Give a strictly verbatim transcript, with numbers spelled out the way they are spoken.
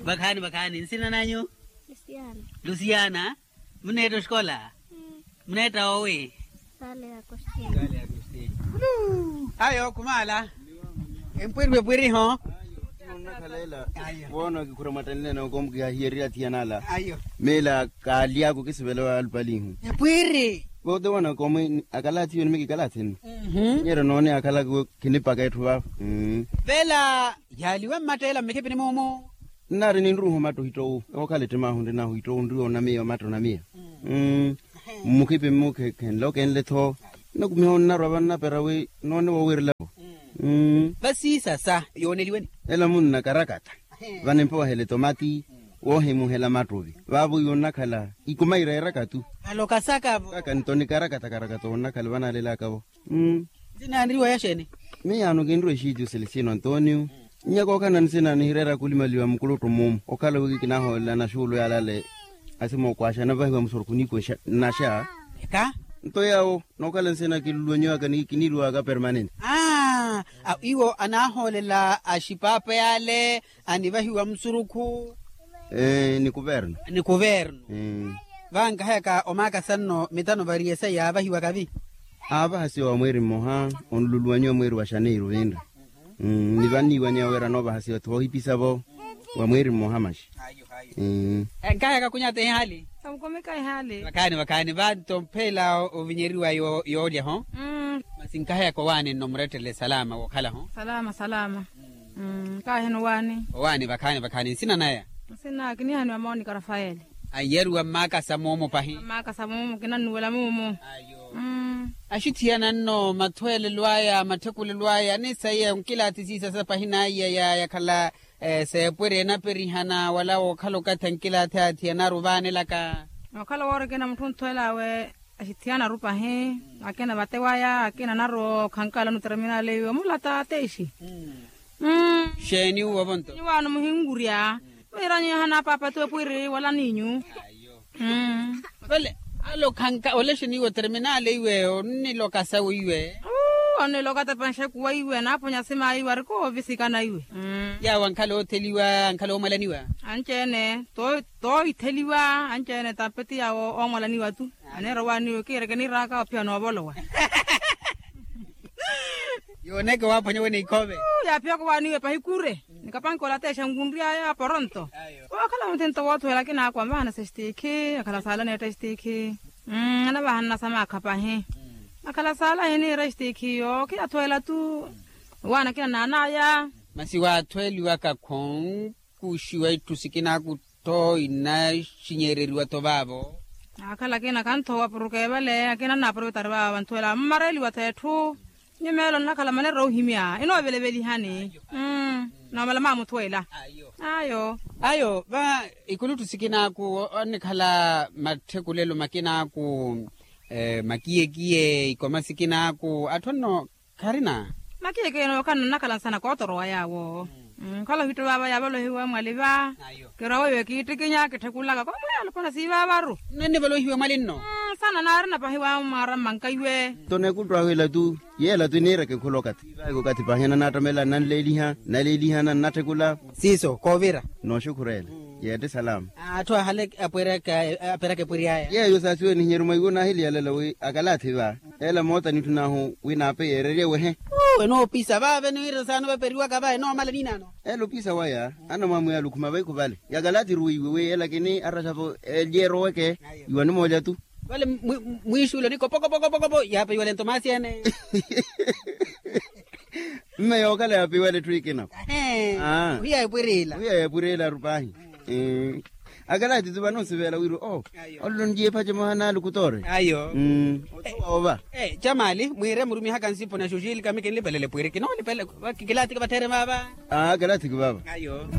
Vakhaani vakhaani nsina nanyu? Lusiana. Muneetta oxikola? Muneetta owi? Ayo khumaala. Empwiripwiriho. Woona kikhura mwattanileene okomkiha hiyererya athiyanala. Meela kaaly'aku kisivela wa alupalihu. Epwiri. Vote woona komwe akalathi iwe nimiki kalathini. Nyeryo noone akhalaka iwe khinipaka etthu vavo. Vela yaaliwe mmatteela mmikhipini muumu. Nnaari ninruuha omatta ohittowu okhala ettimaahu nrinahu ohittowu nriwe onamiya omatta onamiya. Mmukhipi mmukhekhenle okenle-tho. Nnakumiha onnarwa vannapera wi noone woowiirela-vo. Vasiisa sa yooneliweni. Ela munna karakata. Vanimpohela etomati woohimuhela mattuvi vaavo iwe onnakhala ikumaira erakatu. Alokasaka-vo. Kaka nto ni karakata karakata wonnakhala vanaalelaka-vo. Nsinanriwa yaxeeni? Miyaano kinriwa exiityu selestino antonio. Nnyaka okhala nsina nihireera kulimaliwa mukuluttu mmumu okhala wi kinahoolela naxuulu yaalale. Asimookwaaxa navahiwa musurukhu niikwexa nnaxa. Eka. Nto yaawo nookhala nsina kiluluwenyiwaka ni kiniriwaka permanente. Aa iwo anahoolela axipaapa yaale anivahiwa musurukhu. Ni kuverno. Ni kuverno. Vankahayaka omaakasa nno mitano variye sayi yaavahiwaka vi. Aavahasiwa wa mweeri mmoha onluluwanyiwa mweeri wa xaneiru vinri. Ni vanniiwanyiwa wira anoovahasiwa-tho woohipisa-vo wa mweeri mmoha maxi. Nkahayaka kunyata ehaali. Vakhani vakhani vanto mphela ovinyeriwa yoolya ho. Masi nkahayaka owaani nno murettele salama wookhala ho. Salama salama. Nkaheno owaani. Owaani vakhani vakhani nsina naya? Nsina kinihaniwa monika rafaele. Anyeeriwa mmaakasa moomo pahi. Mmaakasa moomo kinannuwela moomo. Axithiyana nno mathweelelo aya matthekulelo aya ni saiya onkilathi siisa sa pahi naiya yakhala. Seepwere enaperihana wala wookhala okathi ankilathi athiyanaru vaanelaka. Okhala woori akina mutthu onthweel'awe. Axithiyanaru pahi akina vate waya akina anaru okhankala onuterminale iwe omulata atexi. Xeeni uwo vonto? Niwaano muhinkurya. Miiranyihana paapati epwiri wala ninyu. Vale. Alokhanka olexeni iwe oterminale iwe onniloka sawe iwe. Onniloka tapanxekuwa iwe anaaponya simaayi iwe arikoovisikana iwe. Yaawo ankhala ootheliwa ankhala oomwalaniwa. Anci-ene toohitheliwa anci-ene tampeti yaawo oomwalaniwa-tu. Aneera owaani iwe kiireke niiraaka ophiya noovolowa. Yooneke waaphwanya wene ikhoove. Yaaphiyaka owaani iwe pahi kure. Nikapanke olatexa nkunry'aya poronto. Wookhala muthento woothuwela akina akwa maana sextikhi akhala saala neetta extikhi. Anavahanana sa maakha pahi. Akhala saala hiniira extikhi yookhiyathuwela-tu. Owaani akina naan'aya. Masi waathweeliwaka khonkuxiwa itthu sikinaaku-tho inaxinyereriwa-tho vaavo. Akhala akina khanthoowa apuruke vale akina anaapuruvetari vaavo vanthuwela mmareeliwa-tho etthu. Nyumeelo nnakhala maneerya ohimya enooveleveliha ni. Noomala maamuthuwela. Ayo. Ayo va ikulutthu sikinaaku onnikhala matthekulelo makinaaku. Makiyekiye ikoma sikinaaku atthu anno kharina. Makiyekiye nookhala nnakhala nsana kootorowa yaawo. Nkhala ohitto vaava yaavalohiwa mwali va. Kirowa iwe kiittikinya kitthekulaka koomweya alopwana siivaavaru. Nnanivalohiwa mwali nno. Nsana naarina pahi wa mwaara mmanka iwe. Nto nekulttu ahwila-tu. Yeela tuniireke khula okathi. Okathi pahina naattamela nnanleeliha nnaleelihana nnatthekula. Siiso koovira. Nooxukhurela. Yeette salama. Atthu ahale aperaka epwiri aya. Yeeyo saasiwe nihinyeru mwa iwo naahiliyalela wi akalathi va. Ela moota nitthu naahu wi naape yeererye wehe. Enoopisa vaave niwira saano vaperiwaka va enoomala niinaano. Ela opisa waya anamwamwiya alukhuma vaikhu vale yakalathi ruwiiwe wi ela kini araxa-vo elyeeroweke. Iwa nimoolya-tu. Vale mwiixuulo niko poko poko poko poko yaapeyiwale nto maasi ene. Mme yookhala yaapeyiwale etthu ikina. Ahe. Wiya epwiriila wiya epwiriila arupahi. Akalathi-tu vano nsivela wira o. Ololo njiye ephaca emoha naalukutoore. Ayo. Otuwa ova. Camaali mwiire murumihaka nsipo na xuxilika mi kinlipelele pwiri kinoolipele. Kilathiki vattheere vaava. Kilathiki vaava. Ayo.